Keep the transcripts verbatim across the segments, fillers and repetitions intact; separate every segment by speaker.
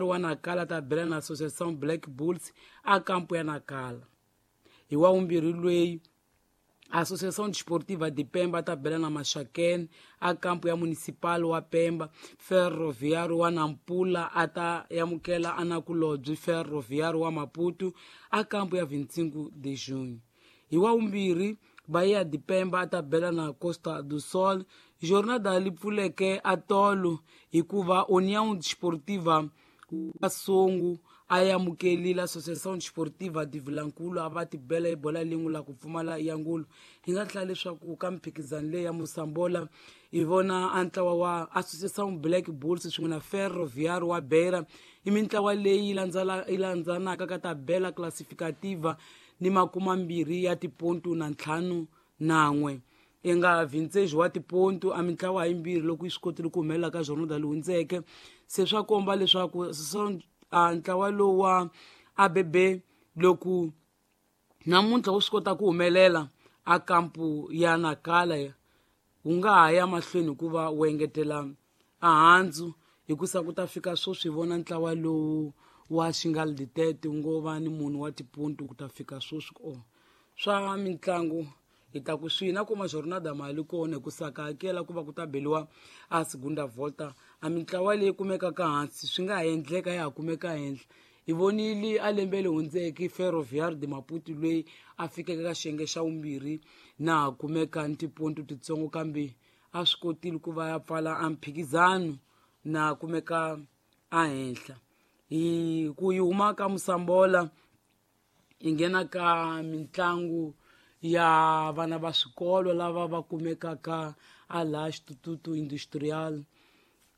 Speaker 1: Wa Nacala ta bela na Associação Black Bulls a kampo ya Nacala. Hi wa vumbirhi lweyi Associação Desportiva de Pemba ta bela na Maxakene a kampo ya Municipal wa Pemba. Ferroviário wa Nampula a ta amukela anakulobye Ferroviário wa Maputo a kampo ya vinte e cinco de junho. Hi wa vumbirhi Bahia de Pemba a ta bela na Costa do Sol. Jornada li pfuleke a tolo hikuva União Desportiva wa Songo a amukelile Associação Desportiva de Vilankulu a va tibela ebola lin'we la ku pfumala ya ngulu. Hi nga tlhela leswaku ka mphikizano leyi ya Mosambola hi vona a ntlawa wa Associação Black Bulls swin'we na Ferroviário wa Beira i mintlawa leyi yi landzanaka ka tabela classificativa ni makumambirhi ya tipontu na ntlhanu nan'we. I nga vinte wa tipontu a mintlawa yimbirhi loko yi swi kotile ku humelela ka jornada leyi hundzeke. Se swa komba leswaku a ntlawa lowu wa A B B loko namuntlha wu swi kota ku humelela a kampu ya Nacala wu nga ha ya mahlweni hikuva wu engetela ahandzu hikusa ku ta fika sweswi hi vona ntlawa lowu wa Xingal Ditete wu ngo va ni munhu wa tipontu ku ta fika sweswi. O swa mitlangu hi ta ku swi na kuma jornada mali kona hikusa ka hakela ku va ku ta beliwa a segunda volta a mintlawa leyi kumekaka hansi swi nga ha endleka ya ha kumeka henhla. Hi vonile a lembe leri hundzeke Ferroviário de Maputo loyi a fikeke ka xiyenge xa vumbirhi na ha kumeka ni tipontu titsongo kambe a swi kotile ku va ya pfala a mphikizano na kumeka a henhla. Hi ku yi huma ka Mosambola hi nghena ka mitlangu ya vana va swikolo lava va kumekaka a laha Xitututu Industrial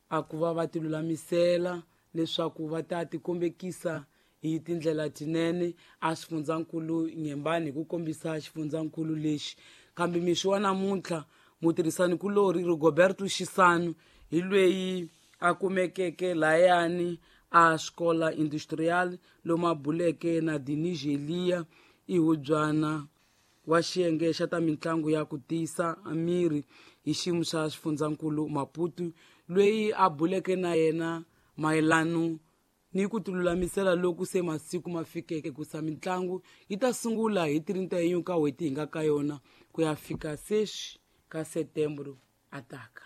Speaker 1: a ku va va ti lulamisela leswaku va ta tikombekisa hi tindlela tinene a xifundzankulu Nyembani hi ku kombisa xifundzankulu lexi. Kambe mixo wa namuntlha mutirhisanikulori Rigoberto Xisano hi lweyi a kumekeke layani a Xikola Industrial lomu a buleke na Dinigelia i hubyana wa xiyenge xa ta mitlangu ya ku tiyisa miri hi xiyimo xa xifundzankulu Maputo loyi a buleke na yena mayelano ni ku tilulamisela loku se masiku ma fikeke ku sa mitlangu yi ta sungula hi trinta e um ka n'hweti hi nga ka yona ku ya fika seis ka setembro ataka.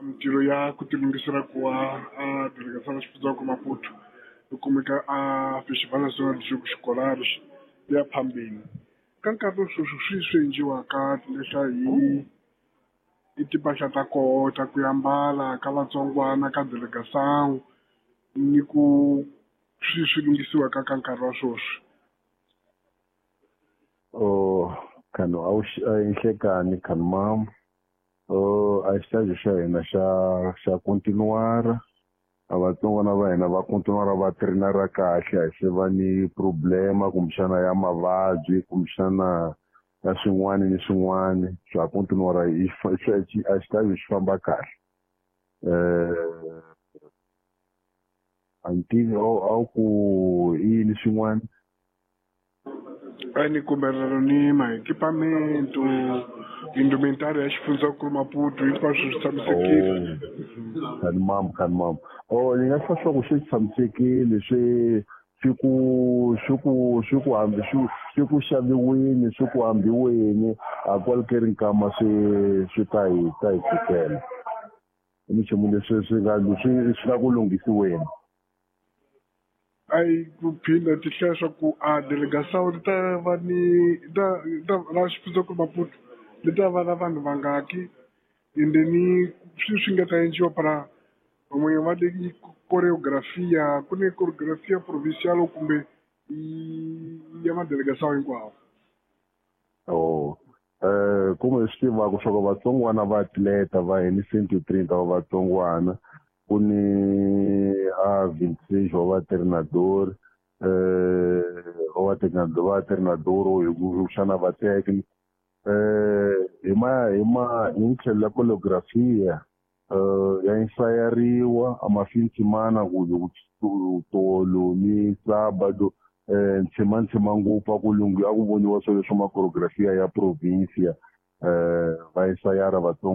Speaker 2: Mintirho ya ku tilunghisela ku va a delegação xifundzankulu Maputo yi kumeka a Festival Nacional de Jogos Escolares ya phambili. Ka nkarhi lowu sweswi swi swi endliwaka tilehla hi i timpahla ta koho ta ku ambala ka vatsongwana ka delegação ni ku swi swi lunghisiwaka ka nkarhi wa sweswi.
Speaker 3: Oh, khano a wu inhlekani khano mam. Oh, a xitaji xa hina xa xa continuar a vatsongwana va hina va continuar va trainara kahle a se va ni problema kumbexana ya mavabyi kumbexana ya swin'wana ni swin'wana swa continuar i a xitaji xi famba kahle. Eh a ni tivi a wu ku i yini swin'wana.
Speaker 2: A ni kumberelo ni ma-equipamento indumentária ya xifundzankulu Maputo hinkwaswo swi tshamisekile.
Speaker 3: Khani mam khani mam oh ni nga hlwa swa ku swi tshamisekile swi swi ku swi ku swi ku hambi swi swi ku xaviwini swi ku hambiweni a kwalukeri nkama swi swi ta hi ta hi fikela i minchumu leswi swi nga swi swi nga ku lunghisiweni.
Speaker 2: Ai ku phinda ti hlaya swa ku a delegação ri ta va ni ta ta ra xifundzankulu Maputo li ta va na vanhu vangaki ende ni swi swi nga ta endliwa para van'wanyana va le choreografia ku ni choreografia provincial kumbe ya madelegação hinkwawo.
Speaker 3: Oh eh kumbe swi tivaka swa ku vatsongwana va atleta va hini trinta wa vatsongwana ku ni a vinte e seis wa va treinador eh wa treinador va treinador hi ku xana va teki eh hi ma hi ma hi tlhelo la choreografia eh ya ensayariwa a mafintimana ku tolo ni sábado eh ntshima ntshima ngopfu a ku lunghi a ku voniwa swilo swa ma choreografia ya provincia eh va ensayara vatsongo.